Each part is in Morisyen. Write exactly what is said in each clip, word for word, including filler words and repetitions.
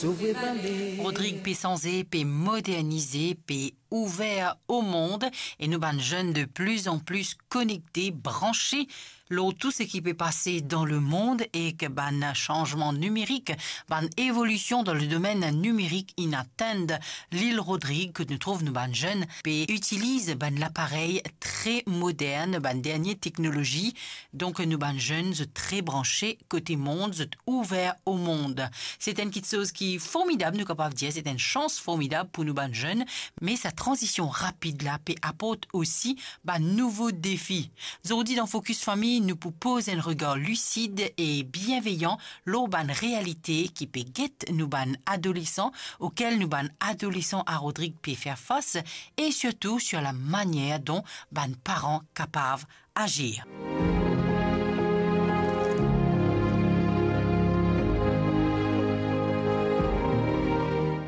Rodrig pe sanze, pe modernize, pe ouver o mond, e nou bann zenn de plis an plis konekte, branse lor tou seki pe pase dan lemond, ek bann sanzman nimerik, bann evolision dan ledomenn nimerik inn atenn lil Rodrig, kot nou trouv nou bann zenn pe itiliz bann laparey tre modern, bann dernie teknolozi. Donk nou bann zenn, zot tre branse kote mond, zot ouver o mond. Se enn kitsoz ki formidab, nou kapav dir, se enn sans formidab pou nou bann zenn, me sa tranzision rapid la pe aport osi bann nouvo defi. Zordi dan Focus Famille, nou pou poz enn regar lisid e bienveyan lor bann realite ki pe get nou bann adolesan, okel nou bann adolesan a Rodrig pe fer fas, e sirtou sir lamanier don bann paran kapav azir.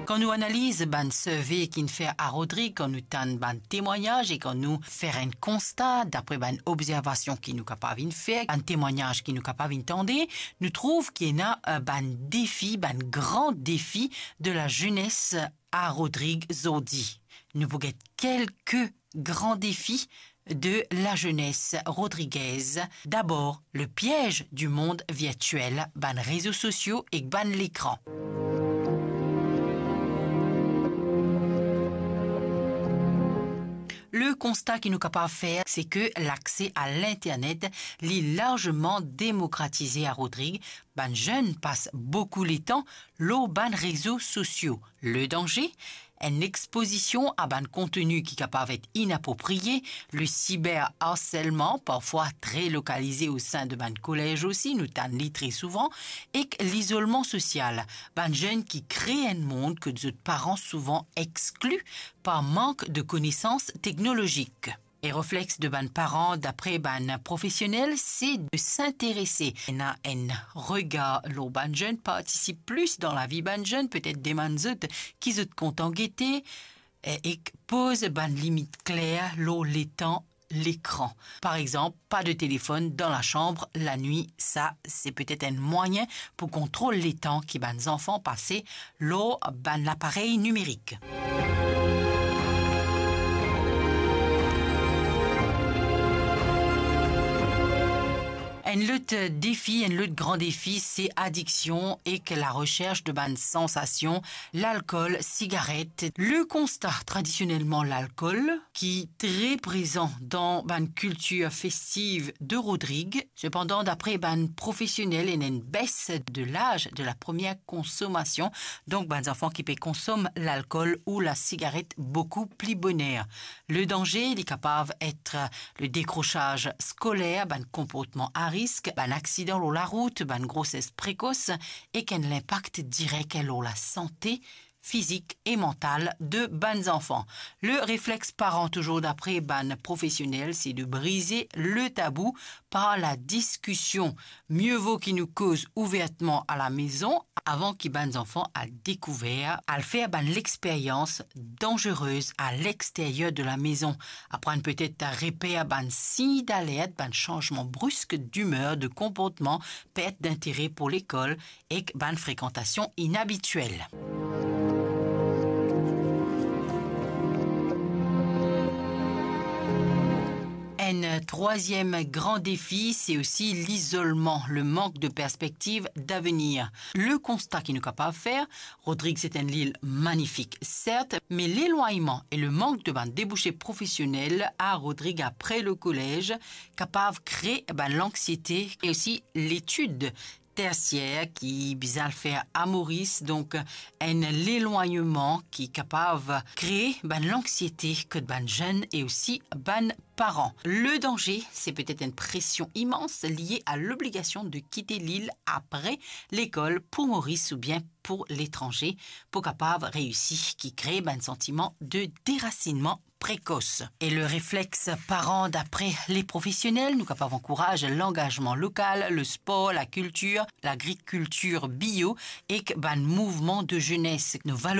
Kan nou analiz bann survey ki'nn fer a Rodrig, kan nou tann bann temwagnaz e kan nou fer enn konsta dapre bann obzervasion ki nou kapav inn fer, bann temwagnaz ki nou kapav inn tande, nou trouv ki ena, eh, bann defi, bann gran defi de lazenes a Rodrig zordi. Nou pou get kelke gran defi de lazenes rodrigez. Dabor, le piez di mond virtiel, bann rezo sosio ek bann lekran. Le konsta ki nou kapav fer, se ke lakse a linternet, li larzeman demokratize a Rodrig. Bann zenn pas boukou letan lor bann rezo sosio. Le danze, enn expozision a bann konteni ki kapav et inaproprie, le siberharselman, parfwa tre lokalize o sin de bann kolez osi, nou tann li tre souvan, ek lizolman sosial, bann zenn ki kre enn mond kot zot paran souvan exkli par mank de konesans teknolozik. E reflex de bann paran, dapre bann profesionel, se de s'interese, ena enn regar lor bann zenn, partisip plis dan lavi bann zenn, petet demann zot ki zot kontan gete, e, ek poz bann limit kler lor letan lekran. Par exanp, pa de telefonn dan lasanm lanwit, sa se petet enn mwayin pou kontrol letan ki bann zanfan pase lor bann laparey nimerik. Enn lot defi, enn lot gran defi, se adiksion ek laresers de bann sansasion, lalkol, sigaret. Le konsta, tradisionelman, lalkol, ki tre prezan dan bann kiltir festiv de Rodrig. Sepandan, dapre bann profesionel, ena enn bes de laz de la premie konsomasion, donk bann zanfan ki pe konsom lalkol ou lasigaret boukou pli boner. Le danze, li kapav et le dekrosaz skoler, bann konportman a risk, bann aksidan lor larout, bann groses prekos, ek enn linpak direk lor lasante fizik e mantal de bann zanfan. Le reflex paran, touzour dapre bann profesionel, se de brize le tabou par ladiskision. Mie vo ki nou koz ouvertman a lamezon avan ki bann zanfan al dekouver, al fer bann lexperyans danzerez a lexteryer de lamezon. Aprann petet reper bann sign dalert, bann sanzman brisk dimer, de konportman, pert dintere pou lekol, ek bann frekantasion inabitiel. Enn trwaziem gran defi, se osi lizolman, le mank de perspektiv davenir. Le konsta ki nou kapav fer, Rodrig se enn lil manifik, sert, me lelwagnman e le mank de bann debouse profesionel a Rodrig apre lekolez kapav kre bann lanksiete e osi letid tersier ki bizin al fer a Moris, donk enn lelwagnman ki kapav kre bann lanksiete kot bann zenn e osi bann paran. Le danze, se petet enn presion imans lie a lobligasion de kite lil apre lekol pou Moris oubien pou letranze, pou kapav reisi, ki kre bann santiman de derasinnman prekos. E le reflex paran, dapre le profesionel, nou kapav ankouraz langazman lokal, le spor, lakiltir, lagrikiltir bio ek bann mouvman de zenes. Nou valoriz